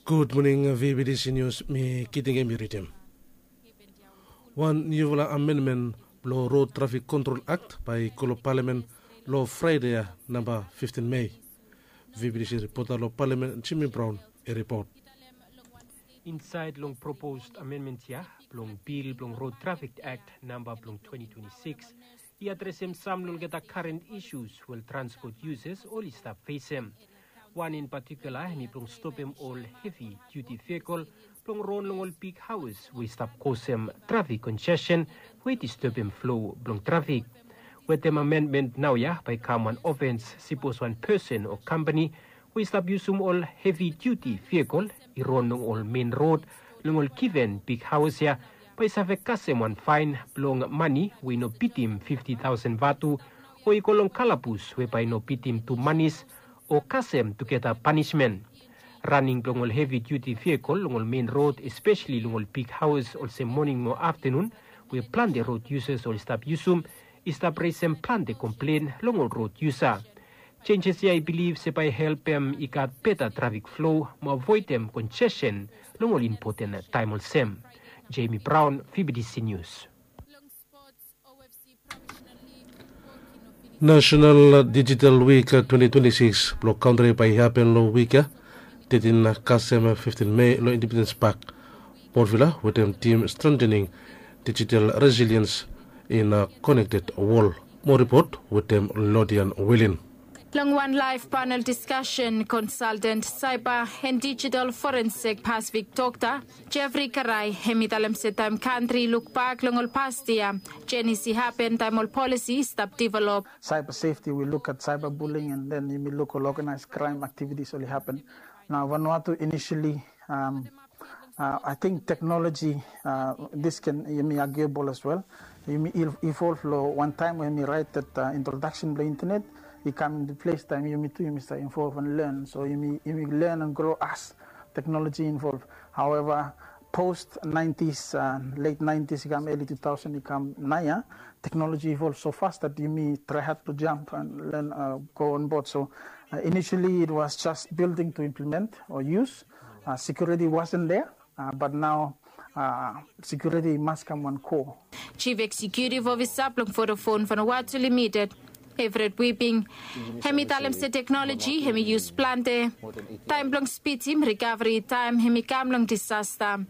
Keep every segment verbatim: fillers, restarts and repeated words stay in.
Gud moning, V B T C News, mi Kitingem i ridim. Wan niufala amenmen blong Road Traffic Control Act bae i go long Palamen long Fraede ya, namba fiftin Mei. V B T C ripota long Palamen, Jimmy Brown, i ripot. Insaed long proposed amendment ya blong bil blong Road Traffic Act namba blong twenty twenty-six, i adresem sam long olgeta current issues we ol transport users oli stap fesem. Wan in patikula hemi blong stopem ol hevi duti vehicle blong ron long ol big haos we i stap kosem trafik congestion we i disturbem flow blong trafik. Wetem amendment naoia bae i kam wan ofens sipos wan person o kampani we i stap yusum ol hevi duti vehicle i ron long ol mein rod long ol given big haos ya, bae i save kasem wan faen blong mane we i no bitim fifti taosen vatu, o i go long kalabus we bae i no bitim tu manis, o kasem tugeta panismen. Raning blong ol hevi duti vehicle long ol mein rod, espeseli long ol big haos olsem moning mo aftenun, we plante rod yusas oli stap yusum, i stap resem plante komplen long ol rod yusa. Jenjes ya i bilif se bae i helpem i gat beta trafik flow mo avoedem congestion long ol impoten taem olsem. Jamie Brown, V B T C News. National Digital Week twenty twenty-six blong kantri bae i hapen long wik ya, tetin kasem fiftin Mei long Independence Park, Port Vila, wetem tim Strengthening Digital Resilience in a Connected World. Mo ripot wetem Lodian Wilin. Long wan laef panel diskasen, konsalten saiba and digital forensik Pasifik dokta Jeffrey Karai, hemi talem se taem kantri i lukbak long ol past yia, jenis i hapen taem ol polisi i stap develop. Cyber safety, we look at cyberbullying, and then yumi luk ol organized crime activities oli happen. Nao Vanuatu initially, um, uh, I think technology, uh, this can, yumi arguable as well. Yumi evolve long wan taem we yumi raet that, uh, introduction blong internet i kam into place taem yumi tu yumi stap evolve and learn. So yumi, yumi learn and grow as technology evolve. However, post nineties, uh, late nineties i kam, early two thousand i kam naoia, technology evolve so fast that yumi try hard to jump and learn, uh, go on board. So, uh, initially it was just building to implement or use. Uh, security wasn't there, uh, but now, uh, security must come one core. Chief Executive Officer blong Vodafone Vanuatu Limited, Everett Whipping, hemi talem se teknoloji hemi yus plante taem blong spidim rikaveri taem hemi kam long disasta.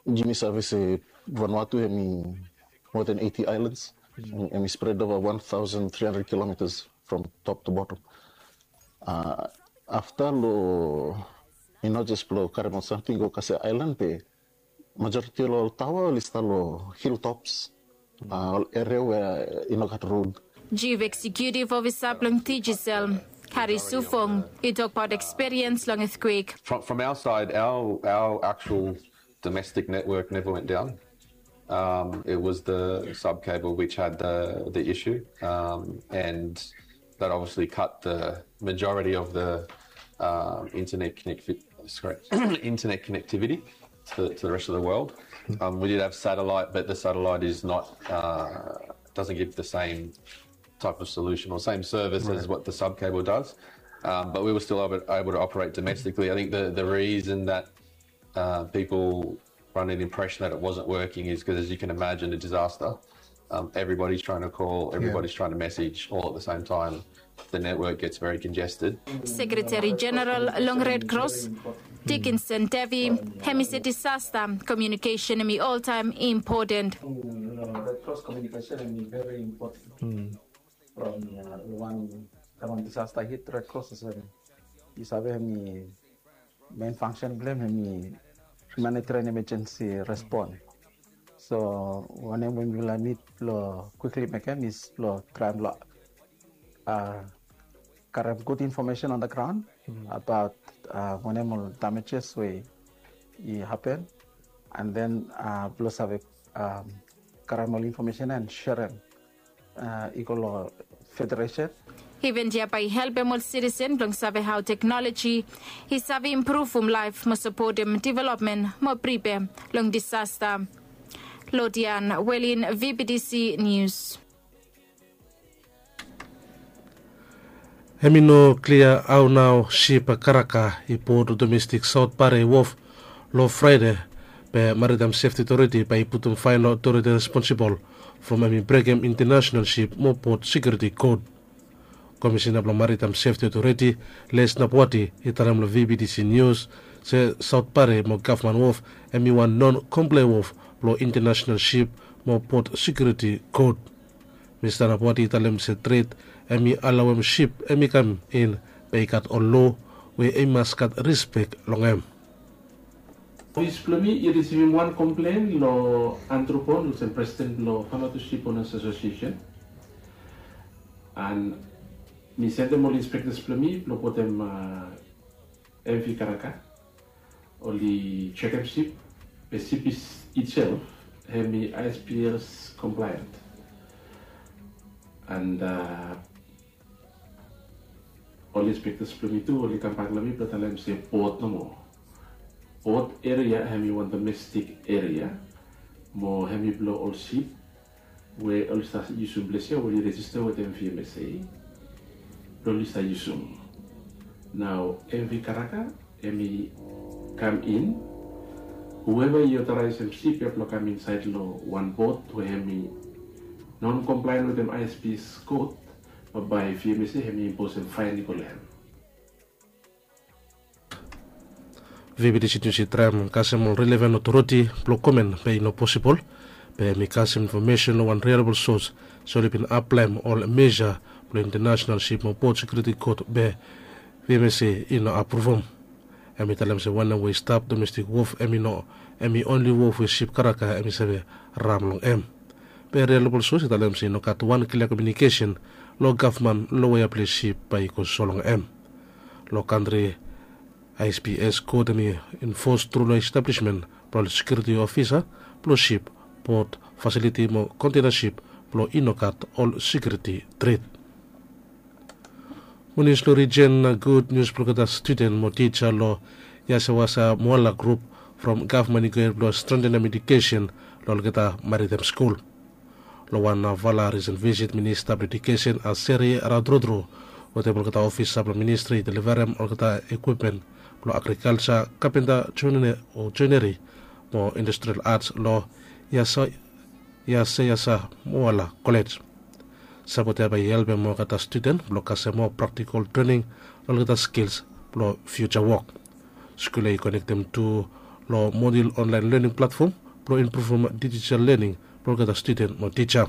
Yumi save se Vanuatu hemi more than eighty islands. Hemi spread over one thousand three hundred kilometers from top to bottom. Uh, afta lo, i no jes blo karem ol samting go kasem aelan, be majoriti lo ol taoa oli stap lo hilltops, uh, ol eria we i no gat rod. Chief Executive Officer blong Digicel, Harry Sufong, i tokbaot ekspiriens long earthquake. From, from our side, our, our actual domestic network never went down. Um, it was the sub cable which had the, the issue, um, and that obviously cut the majority of the, um, internet connect-, sorry, internet connectivity to, to the rest of the world. Um, we did have satellite, but the satellite is not, uh, doesn't give the same type of solution or same service as what the sub cable does. Um, but we were still able, able to operate domestically. I think the, the reason that, uh, people run an impression that it wasn't working is 'cause, as you can imagine, a disaster, um, everybody's trying to call, everybody's trying to message all at the same time. The network gets very congested. Sekretari Jeneral long Red Cross, Dickinson Devi, hemi se disasta komiunikesen hemi oltaem impoten. Red Cross komiunikesen hemi very important. From, uh, wan, wan disasta hit, Red Cross i save, i save hemi main function blo hem hemi humanitarian emergency response. So wanem we mifala nid blo quickly mekem is blo traem lo, uh, karem gud information on the ground about, uh, wanem ol damages we i hapen, and then, uh, blo save, um, karem ol information and sherem, uh, i go lo federation. Iven ya bae i helpem ol sitisen blong save hao teknoloji i save impruvum laef mo sapotem developmen mo pripe long disasta. Lodian Welin, V B T C News. Hem i no klia hao nao sip karaka i bot domestik Saot Pare wof long Fraede, be Maritaem Sefti Otoriti bae i putum faen long otoriti responsibol from hem i brekem intanasenal sip mo bot sekiuriti kod. Komisena blong Maritaem Sefti Otoriti, Les Napwati, i talem long V B T C Nius se Saot Pare mo Gavman Wof hem i wan non komplae wof blong intanasenal sip mo bot sekiuriti kod. Mista Napwati i talem se tred hem i alaoem sip hem i kam in, be i gat ol loa we i mas gat rispek long hem. Ofis blong mi i risivim wan komplen long Andrew Pond olsem presiden blong Vanuatu Sip Onas Asosiesen. And mi sendem ol inspektas blong mi blong botem M V Karaka. Oli jekem sip, be sip itself hem i I S P S compliant. And ol inspektas blong mi tu oli kambak long mi blong talem se bot nomo. Bot eria hem i wan domestik eria, mo hem i blong ol sip we oli save yusum ples ya we oli rejista wetem V M S A blong oli save yusum. Nao M V Karaka hem i kam in. Hueva i otoraesem sip ya blong kam insaed long wan bot we hem i non komplaen wetem I S P S kod, bambae V M S A hem i imposem faen i go long hem. V B T C Nius i traem kasem ol relevan otoriti blong komen be i no posibol, be hem i kasem infomesen long wan reliabol sos se oli bin aplaem ol meja blong intanasenal sip mo bot sekiuriti kod be V M S A i no apruvum. Hem i talem se wanem we i stap domestik wof hem i no, hem i onli wof we sip karaka hem i save ram long hem. Be reliabol sos i talem se i no gat wan klia komiunikesen long gavman long wea ples sip bae i go so long hem. Long kantri, I S P S kod hem i infos tru long establismen blong ol sekiuriti ofisa blong sip, bot, fasiliti mo kontena sip blong i no gat ol sekiuriti tret. Munis long rijen na gud nius blong olgeta studen mo tija long Yasewasa Moala grup from gavman i go hed blong strentenem edukesen long olgeta Maritaem skul. Long wan vala risen visit, Minista blong Edukesen Aseri Radrodro wetem olgeta ofisa blong ministri i delivarem olgeta ekwipmen blong agrikalja, kapenta, joineri mo industrial ats long Yaseyasa Moala Kolej. Sapot ya bae i helpem olgeta studen blong kasem moa praktikol trening long olgeta skils blong fiuja wok. Skul ya i konektem tu long modul onlaen lening platfom blong impruvum dijitol lening blong olgeta studen mo tija.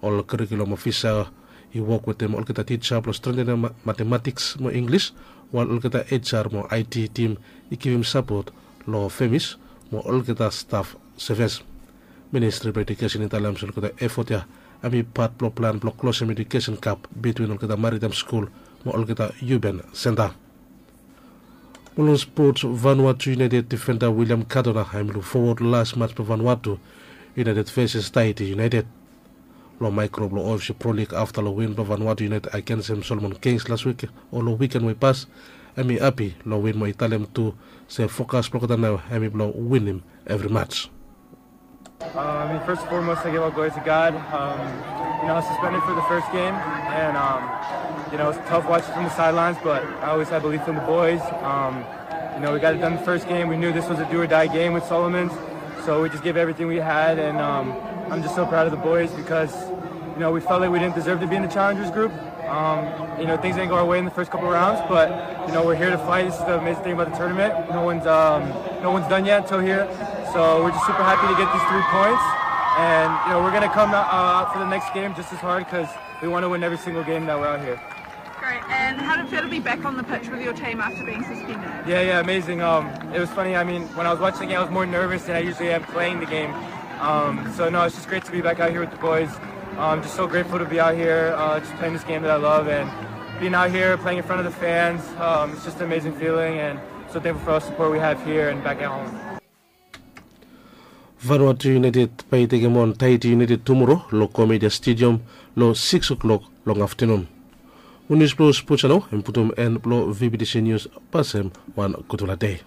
Ol kurikulum ofisa i wok wetem olgeta tija blong strentenem matematiks mo Inglis, wael olgeta H R mo I T tim i givim sapot long femis mo olgeta staf sevis. Ministri blong Edukesen i talem se olgeta efot ya hem i pat blong plan blong klosem edukesen gap bitwin olgeta Maritaem skul mo olgeta Urban Senta. Mo long spots, Vanuatu United difenda William Cardona hem i luk fowod las mats blong Vanuatu United veses Tahiti United. Long maekro blong O F C Pro League afta long win blong Vanuatu United agensem Solomon Kings las wik o long wiken we i pas, hem i hapi long win mo i talem tu se fokas blong olgeta nao hem i blong winim evri mats. Um, I mean, first and foremost, I give all glory to God. Um, you know, I was suspended for the first game, and um, you know, it's tough watching from the sidelines, but I always had belief in the boys. Um, you know, we got it done the first game. We knew this was a do or die game with Solomons, so we just gave everything we had, and um, I'm just so proud of the boys because you know we felt like we didn't deserve to be in the challengers group. Um, you know, things didn't go our way in the first couple rounds, but you know, we're here to fight. This is the amazing thing about the tournament. No one's um, no one's done yet until here, so we're just super happy to get these three points. And you know, we're gonna come out, uh, out for the next game just as hard because we want to win every single game that we're out here. Great. And how did it feel to be back on the pitch with your team after being suspended? Yeah, yeah, amazing. Um, it was funny. I mean, when I was watching the game, I was more nervous than I usually am playing the game. Um, so no, it's just great to be back out here with the boys. I'm just so grateful to be out here, uh, just playing this game that I love, and being out here playing in front of the fans. Um, it's just an amazing feeling, and so thankful for all the support we have here and back at home. Vanuatu United bae i tekem on Tahiti United tumoro long Komedia Stadium long sikis o'klok long aftenun. Ol nius blong spots ya nao hem i putum en blong V B T C Nius. Pasem wan gudfala dei.